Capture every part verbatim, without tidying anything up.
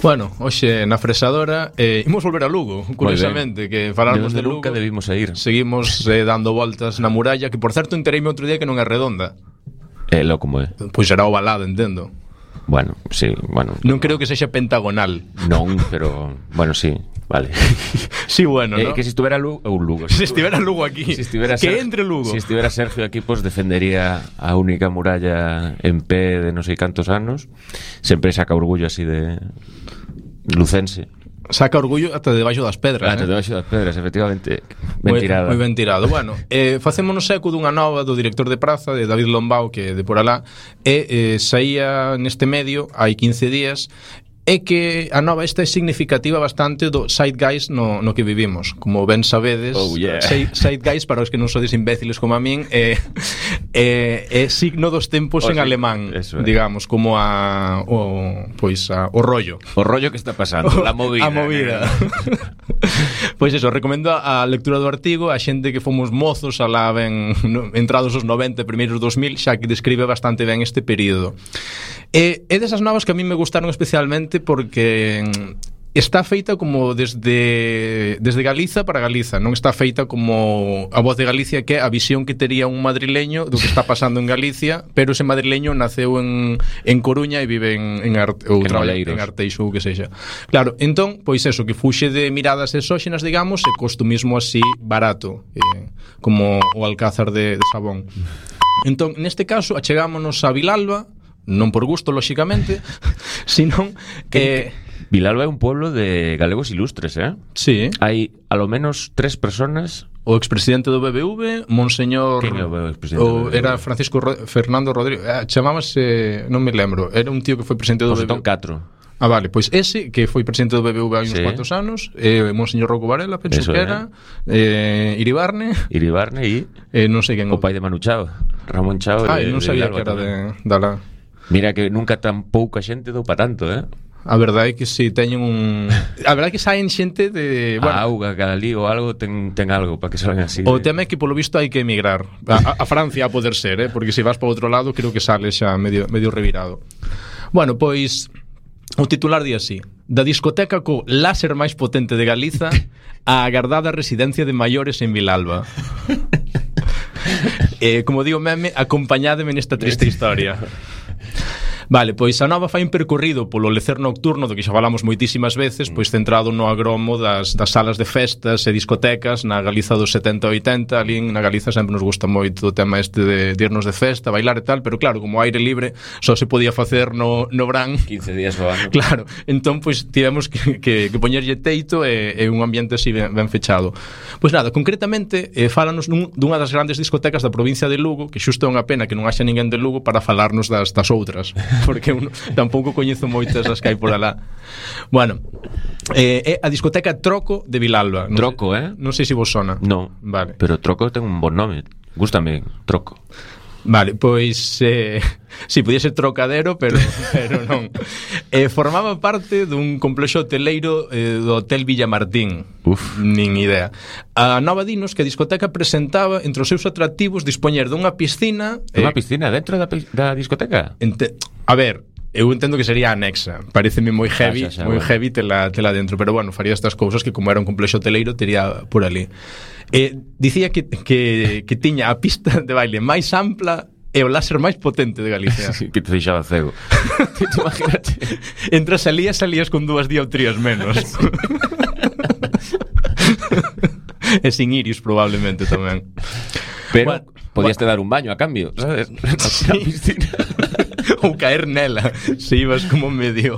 Bueno, hoxe na fresadora eh, imos volver a Lugo, curiosamente, que falamos de, de Lugo. Nunca debimos a ir. Seguimos eh, dando voltas na muralla, que por certo entereime outro día que non é redonda. É lo como é. Pois será ovalada, entendo. Bueno, sí, bueno. Non creo que sexa pentagonal. Non, pero bueno, sí, vale. Sí, bueno, eh, ¿no? Que si estuvera Lugo, ou Lugo. Si estivera Lugo aquí. Si estivera que Sergio, entre Lugo. Si estivera Sergio aquí, pues defendería a única muralla en pé de non sei cantos anos. Sempre saca orgullo así de lucense. Saca orgullo ata debaixo das pedras, Ata eh? debaixo das pedras, efectivamente. Ben Moi, tirada. Moi ben tirado. Bueno, eh, facémonos eco dunha nova do director de praza, de David Lombao, que de por alá, e eh, saía neste medio hai quince días, é que a nova esta é significativa bastante do zeitgeist no, no que vivimos. Como ben sabedes, oh, yeah. zeitgeist, para os que non sodes imbéciles como a min, é, é, é signo dos tempos o en sí, alemán, é. digamos, como a o, pois a, o rollo. O rollo que está pasando, a movida. A movida. Pois eso, recomendo a lectura do artigo a xente que fomos mozos alá ben no, entrados os noventa, primeiros dos mil, xa que describe bastante ben este período. E é desas novas que a mí me gustaron especialmente porque está feita como desde desde Galiza para Galiza, non está feita como a Voz de Galicia, que é a visión que tería un madrileño do que está pasando en Galicia, pero ese madrileño naceu en, en Coruña e vive en, en, Arte, ou en, traballa, en Arteixo ou que sexa. Claro, entón, pois eso, que fuxe de miradas exóxenas, digamos, e costumismo así barato, eh, como o alcázar de, de Sabón. Entón, neste caso, achegámonos a Vilalba, non por gusto, lóxicamente, senón que... Vilalba é un pueblo de galegos ilustres, eh? Sí. Hai, a lo menos, tres personas... O expresidente do B B V, Monseñor... Quen é o expresidente o do B B V? Era Francisco Ro... Fernando Rodríguez, eh, chamábase... Non me lembro, era un tío que foi presidente do José B B V. Catro. Ah, vale, pois ese, que foi presidente do B B V hai uns sí. cuantos anos, eh, Monseñor Rocco Varela, penso Eso que era, eh, Iribarne... Iribarne e... Eh, non sei quen... O pai de Manu Chao, Ramón Chao. Ah, de, non sabía que era de, de la... Mira que nunca tan pouca xente dou pa tanto, eh? A verdade é que si teñen un... A verdade é que saen xente de... Bueno, a auga, cada lí ou algo ten, ten algo para que salgan así. O de... tema é que polo visto hai que emigrar a, a Francia a poder ser, eh? Porque se vas para outro lado creo que sales xa medio, medio revirado. Bueno, pois o titular di así: da discoteca co láser máis potente de Galiza a agardada residencia de maiores en Vilalba. eh, Como digo meme, acompañádeme nesta triste historia. Vale, pois a nova fai un percorrido polo lecer nocturno, do que xa falamos moitísimas veces, pois centrado no agromo das, das salas de festas e discotecas na Galiza dos setenta e oitenta. Ali na Galiza sempre nos gusta moito o tema este de, de irnos de festa, bailar e tal, pero claro, como aire libre só se podía facer no, no verán quince días ao ano. Claro, entón pois tivemos que, que, que poñerlle teito e, e un ambiente así ben, ben fechado. Pois nada, concretamente eh, fálanos nun, dunha das grandes discotecas da provincia de Lugo, que xusto é unha pena que non haxa ninguén de Lugo para falarnos das, das outras, porque eu tampouco coñezo moitas as que hai por alá. Bueno, eh, é a discoteca Troco de Vilalba. Non Troco, sei, eh? Non sei se vos sona. No, vale. Pero Troco ten un bon nome. Gústame, Troco. Vale, pois eh, si, sí, podía ser Trocadero, pero, pero non. eh, Formaba parte dun complexo hoteleiro eh, do Hotel Villamartín. Uf. Nin idea. A nova dinos que a discoteca presentaba entre os seus atractivos dispoñer dunha piscina. Unha eh, piscina dentro da, da discoteca? ente, A ver, eu entendo que sería anexa. Pareceme moi heavy, ah, xa, xa, moi bueno. heavy tela, tela dentro, pero bueno, faría estas cousas que como era un complexo hoteleiro tería por ali. Eh, dicía que, que, que tiña a pista de baile máis ampla e o láser máis potente de Galicia. Sí, que te deixaba cego. Te imagínate. Entras salías, salías con dúas dioptrías menos. E sin iris probablemente tamén. Pero bueno, podías te dar un baño a cambio, sabes? Sí. Ou caer nela se ibas como medio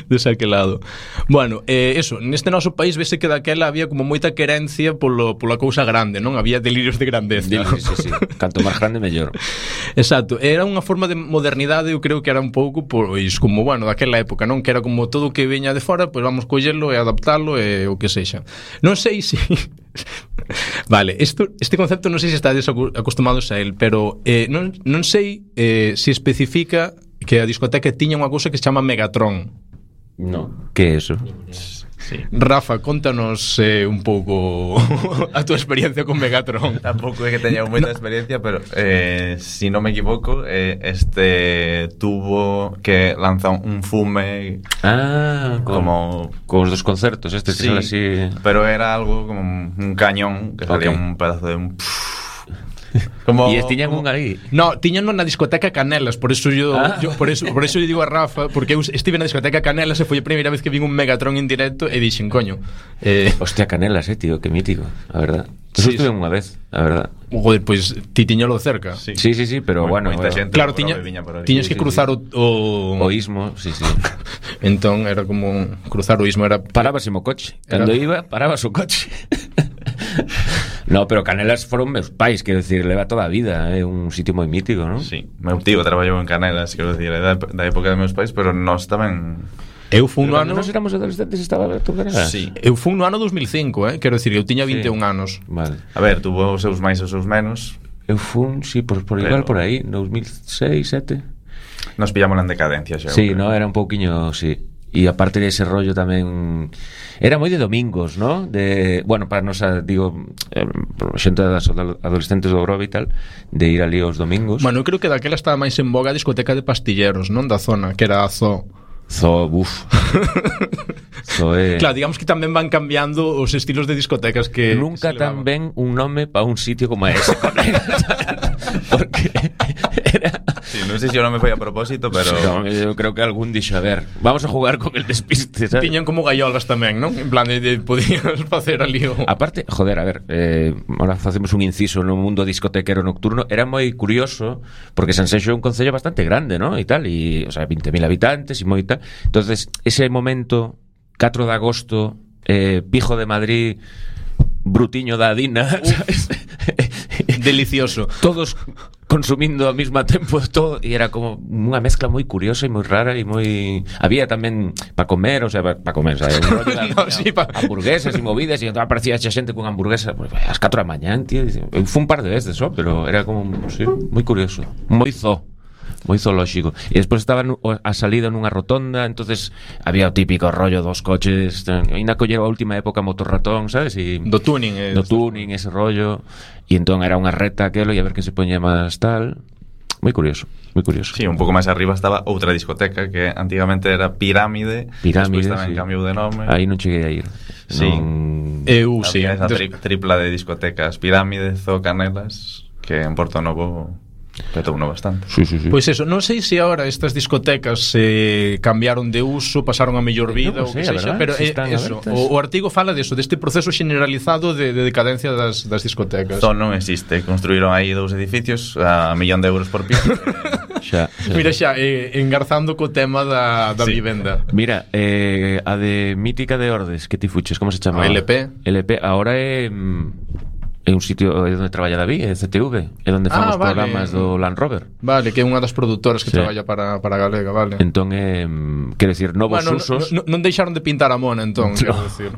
desaquelado. Bueno, eh, eso, neste noso país vese que daquela había como moita querencia polo, pola cousa grande, non? Había delirios de grandeza. Sí, sí, sí. Canto máis grande, mellor. Exacto, era unha forma de modernidade, eu creo que era un pouco pois como, bueno, daquela época, non? Que era como todo o que veña de fora, pois vamos collelo e adaptalo e o que sexa. Non sei se... Vale, esto, este concepto non sei se estades acostumados a él, pero eh, non, non sei eh, se especifica que a discoteca tiña unha cousa que se chama Megatron. No, que é eso? Sí. Rafa, contanos eh, un pouco a túa experiencia con Megatron. Tampouco é que teña moita experiencia, pero eh, si non me equivoco, eh, este tubo que lanza un fume. Ah, con, como con os dos concertos, estes que sí, son así. Pero era algo como un cañón que salía Okay. un pedazo de un como E tiñan como... un aí. No, tiñan na discoteca Canelas, por eso yo, Ah. yo por eso por eso yo digo a Rafa, porque eu estive na discoteca Canelas e foi a primeira vez que vin un Megatron en directo e dixen, coño. Eh, Hostia, Canelas, eh, tío, que mítico, a verdad. Eso Sí, estuve sí. unha vez, a verdad. joder, pois pues, ti tiñalo cerca. Sí. Sí, sí, sí, pero Moi- bueno, moita bueno. xente Claro, por tiña, onde viña por aí. tiñas Sí, que sí, cruzar sí. o, o O ismo, sí, sí. entón era como cruzar o ismo, era Parabas o coche. Cando Era- iba, parabas o coche. No, pero Canelas foron meus pais, quero decir, leva toda a vida, é eh, un sitio moi mítico, non? Sí, meu tío traballou en Canelas, quero decir, da, da época de meus pais, pero nós tamén. Eu fun no Pero ano cando nos éramos adolescentes estaba aberto Canelas. Sí. Eu fun no ano dos mil cinco, eh, quero decir, eu tiña Sí. vinte e un anos. Vale. A ver, tuvo os seus máis e os seus menos. Eu fun, sí, por, por Pero- igual por aí, dos mil seis, sete. Nos pillamos en decadencia xa. Sí, eu creo. no, era un pouquiño, sí. E aparte de ese rollo tamén era moi de domingos, ¿no? De, bueno, para nos, digo, eh, xente das adolescentes do Grove e tal, de ir ali os domingos. Bueno, eu creo que daquela estaba máis en boga a discoteca de pastilleros, non? Da zona, que era a Zoo. Zo, buf. Zo é... Claro, digamos que tamén van cambiando os estilos de discotecas que Nunca se tan levaban. ben un nome para un sitio como ese, colega. Porque era... Sí, non sei se o nome foi a propósito, pero No, eu creo que algún dixo, a ver, vamos a jugar con el despiste, ¿sabes? Tiñan como gaiolas tamén, non? En plan de, de podías facer ali o... Aparte, joder, a ver, eh, ahora facemos un inciso no mundo discotequero nocturno. Era moi curioso porque Sanxenxo é un concello bastante grande, ¿no? E tal, e, o sea, veinte mil habitantes e moi tal. Entonces, ese momento catro de agosto, eh, Pijo de Madrid, Brutiño da Adina, ¿sabes? Delicioso. Todos consumindo ao mesmo tempo todo, e era como unha mezcla moi curiosa e moi rara e moi... Había tamén para comer, o sea, para pa comer, o sea, un rollo de No, sí, pa- hamburguesas e movidas, e entón aparecía xa xente con hamburguesa pues, ás catro da mañán, tío. Eu fui un par de veces, só, pero era como, sí, moi curioso, moi zo. Moi zoolóxico. E despois estaba nu- a salida nunha rotonda, entonces había o típico rollo dos coches, ainda collero a última época motorratón, sabes? E Do tuning, eh, do tuning, ese rollo. E entón era unha reta aquelo e a ver que se poñía máis tal. Moi curioso, moi curioso. sí, un pouco máis arriba estaba outra discoteca que antigamente era Pirámide, Pirámide, despois tamén sí. cambiou de nome. Aí non cheguei a ir. Sí. Non... Eu, sí. Había esa Des- tri tripla de discotecas, Pirámide, Zoo, Canelas, que en Porto Novo petou uno bastante. Sí, sí, sí. Pois eso, non sei se agora estas discotecas se eh, cambiaron de uso, pasaron a mellor vida Non ou sei, que a sexa, verdad, pero se eh, están eso, abertas. o, o artigo fala de eso, deste proceso generalizado de, de decadencia das, das discotecas. Zoo non existe, construíron aí dous edificios a millón de euros por piso. Xa, xa. Mira xa, eh, engarzando co tema da, da Sí. vivenda. Mira, eh, a de Mítica de Ordes, que ti fuches, como se chama? A L P. L P, ahora é mm, é un sitio é onde traballa David, é C T V, é onde fan Ah, os vale. programas do Land Rover. Vale, que é unha das produtoras que Sí. traballa para, para Galega, vale. Entón é, mm, quero decir, novos Bueno, usos. no, no, non deixaron de pintar a mona, entón, No. quero decir.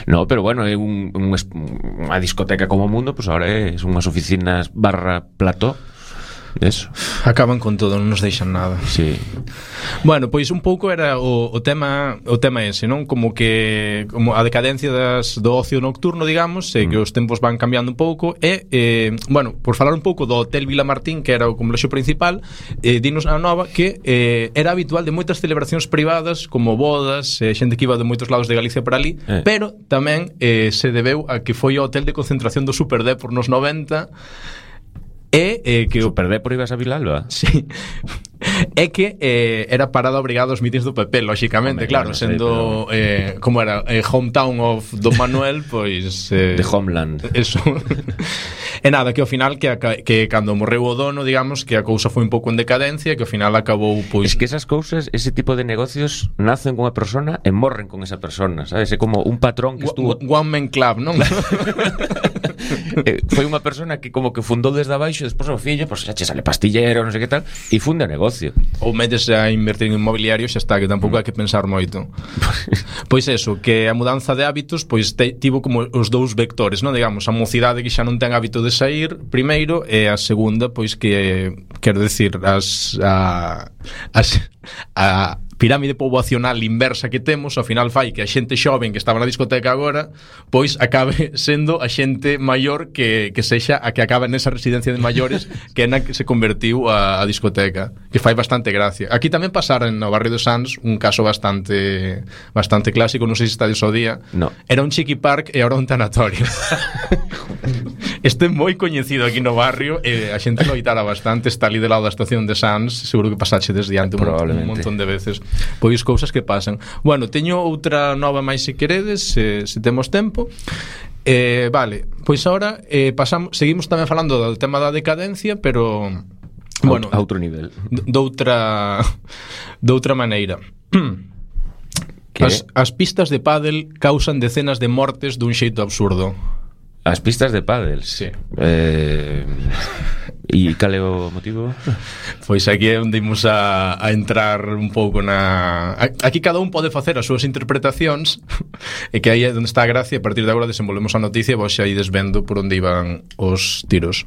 No, pero bueno, é un, un, es- unha discoteca como o mundo, pues ahora é unhas oficinas barra plató. Eso. Acaban con todo, non nos deixan nada. Sí. Bueno, pois un pouco era o, o tema o tema ese, non? Como que como a decadencia das, do ocio nocturno, digamos, e que os tempos van cambiando un pouco e, eh, bueno, por falar un pouco do Hotel Vilamartín, que era o complexo principal, eh, dinos a nova que eh, era habitual de moitas celebracións privadas, como bodas, eh, xente que iba de moitos lados de Galicia para ali, Eh. pero tamén eh, se debeu a que foi o hotel de concentración do Superdepor nos noventa e eh, que o Super Depor ibas a Vilalba. Sí. É que eh, era parada obrigada aos mítins do P P, lóxicamente, Home, claro, bueno, sendo sí, pero... eh, como era, eh, hometown of Don Manuel, pois eh, De Homeland. Eso. E nada, que ao final que, aca- que cando morreu o dono, digamos, que a cousa foi un pouco en decadencia, que ao final acabou pois Es que esas cousas, ese tipo de negocios nacen con unha persona e morren con esa persona, sabes? É como un patrón que estuvo... One Man Club, non? eh, foi unha persona que como que fundou desde abaixo, despois o fillo, pois xa che sale pastillero, non sei que tal, e funde o negocio. Ou metes a invertir en inmobiliario, xa está, que tampouco hai que pensar moito. Pois eso, que a mudanza de hábitos pois te, tivo como os dous vectores, non? Digamos, a mocidade que xa non ten hábito de sair primeiro, e a segunda, pois que quero decir, as a, as a pirámide poboacional inversa que temos, ao final fai que a xente xoven que estaba na discoteca agora, pois acabe sendo a xente maior que, que sexa a que acaba nesa residencia de maiores que é na que se convertiu a, a discoteca, que fai bastante gracia. Aquí tamén pasara no barrio de Sants un caso bastante bastante clásico, non sei se estades ao día. No. Era un chiqui park e ahora un tanatorio. Este é moi coñecido aquí no barrio e a xente loitara bastante, está ali de lado da estación de Sants, seguro que pasaxe desde diante un, un montón de veces. Pois cousas que pasan. Bueno, teño outra nova máis se queredes, se, se temos tempo. Eh, vale, pois agora eh, pasamos, seguimos tamén falando do tema da decadencia, pero bueno, a outro nivel. Doutra doutra maneira. As, as pistas de pádel causan decenas de mortes dun xeito absurdo. As pistas de pádel? Sí. Eh, e cal é o motivo? Pois aquí é onde imos a, a entrar un pouco na... Aquí cada un pode facer as súas interpretacións e que aí é onde está a gracia. A partir de agora desenvolvemos a noticia e vos xa ides vendo por onde iban os tiros.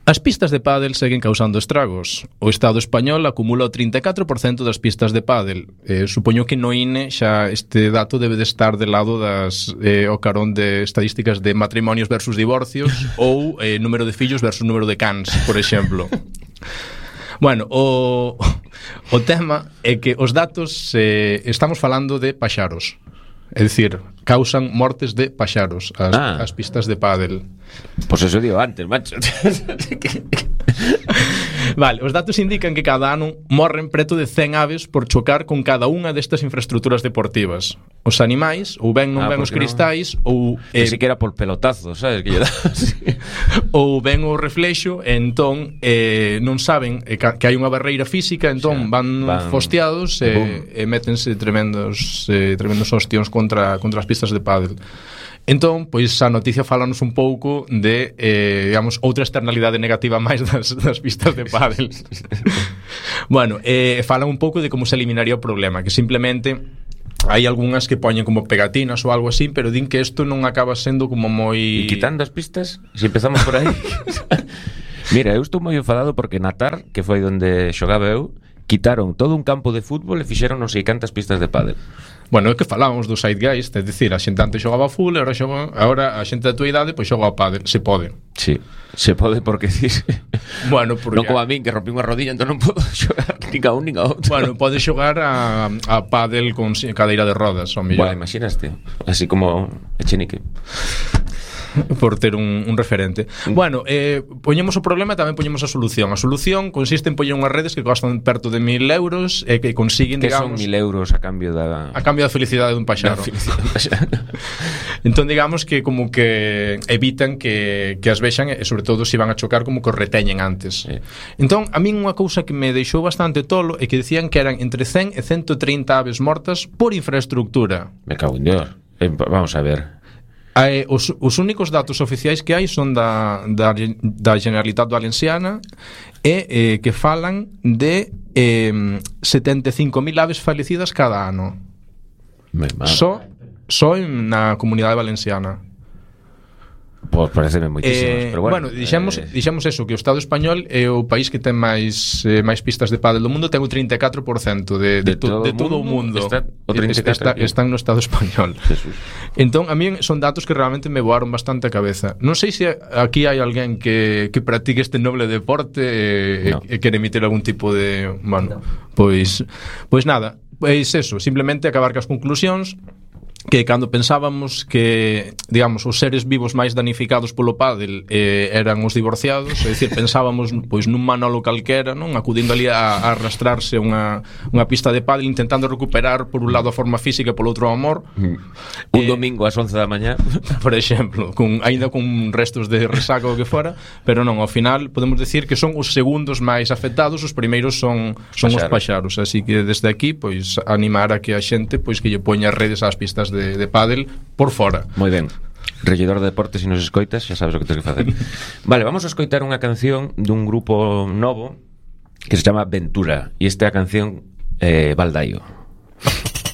As pistas de pádel seguen causando estragos. O Estado español acumula o trinta e catro por cento das pistas de pádel. Eh, supoño que no I N E xa este dato debe de estar de lado das eh, o carón de estadísticas de matrimonios versus divorcios ou eh, número de fillos versus número de cans, por exemplo. Bueno, o, o tema é que os datos eh, estamos falando de paxaros. É dicir, causan mortes de paxaros as, ah. as pistas de pádel. Pois pues eso digo antes, macho. Vale, os datos indican que cada ano morren preto de cen aves por chocar con cada unha destas infraestructuras deportivas. Os animais, ou ben non ah, ven os cristais no. Ou eh, que era por pelotazo, sabes? Que lle dá así. Ou ven o reflexo e entón eh, non saben eh, que hai unha barreira física, entón o sea, van, van fosteados e, e métense tremendos eh, tremendos hostións contra, contra as pistas de pádel. Entón, pois a noticia falanos un pouco de, eh, digamos, outra externalidade negativa máis das, das pistas de pádel. Bueno, eh, falan un pouco de como se eliminaría o problema, que simplemente hai algunhas que poñen como pegatinas ou algo así, pero din que isto non acaba sendo como moi... E quitando as pistas, se si empezamos por aí... Mira, eu estou moi enfadado porque Natar, que foi onde xogaba eu, quitaron todo un campo de fútbol e fixeron non sei cantas pistas de pádel. Bueno, é que falábamos do Zeitgeist, é dicir, a xente antes xogaba full, agora xoga, agora a xente da tua idade pois xoga ao pádel, se pode. Sí, se pode porque dice. Bueno, porque non como a min que rompí unha rodilla, entón non podo xogar nin a un nin a outro. Bueno, pode xogar a, a pádel con cadeira de rodas, ao mellor. Bueno, imaginaste, así como Echenique. Por ter un, un referente. Bueno, eh, poñemos o problema e tamén poñemos a solución. A solución consiste en poñer unhas redes que costan perto de mil euros e que consiguen, que digamos... son mil euros a cambio da... A cambio da felicidade dun paxaro. Entón, digamos que como que evitan que, que as vexan e, sobre todo, se van a chocar, como que os reteñen antes. Sí. Entón, a min unha cousa que me deixou bastante tolo é que decían que eran entre cen e ciento trinta aves mortas por infraestructura. Me cago en Dios. Eh, vamos a ver... Eh, os, os únicos datos oficiais que hai son da, da, da Generalitat Valenciana e eh, que falan de eh, setenta e cinco mil aves falecidas cada ano. Só so na Comunidade Valenciana. Pois pareceme moitísimos, eh, pero bueno, bueno dixemos, eh... dixemos eso, que o Estado español é o país que ten máis eh, máis pistas de pádel do mundo, ten o trinta e catro por cento de, de, de, to, de todo o mundo está, o trinta e catro está, están no Estado español. Jesús. Entón, a mí son datos que realmente me voaron bastante a cabeza. Non sei se aquí hai alguén que, que practique este noble deporte e, no. e quere emitir algún tipo de... Bueno, no. pois, pois nada, pois eso, simplemente acabar cas conclusións, que cando pensábamos que, digamos, os seres vivos máis danificados polo pádel eh, eran os divorciados, é dicir, pensábamos pois nun Manolo calquera, non, acudindo ali a, a arrastrarse unha, unha pista de pádel intentando recuperar por un lado a forma física e polo outro o amor. Mm. Un eh, domingo ás once da mañá, por exemplo, con, ainda con restos de resaca ou que fora, pero non, ao final podemos decir que son os segundos máis afectados, os primeiros son, son os paxaros, así que desde aquí pois animar a que a xente pois que lle poña redes ás pistas de de, de pádel por fora. Moi ben. Regidor de deportes, se nos escoitas, xa sabes o que tens que facer. Vale, vamos a escoitar unha canción dun grupo novo que se chama Ventura, e esta é a canción eh, Baldaio.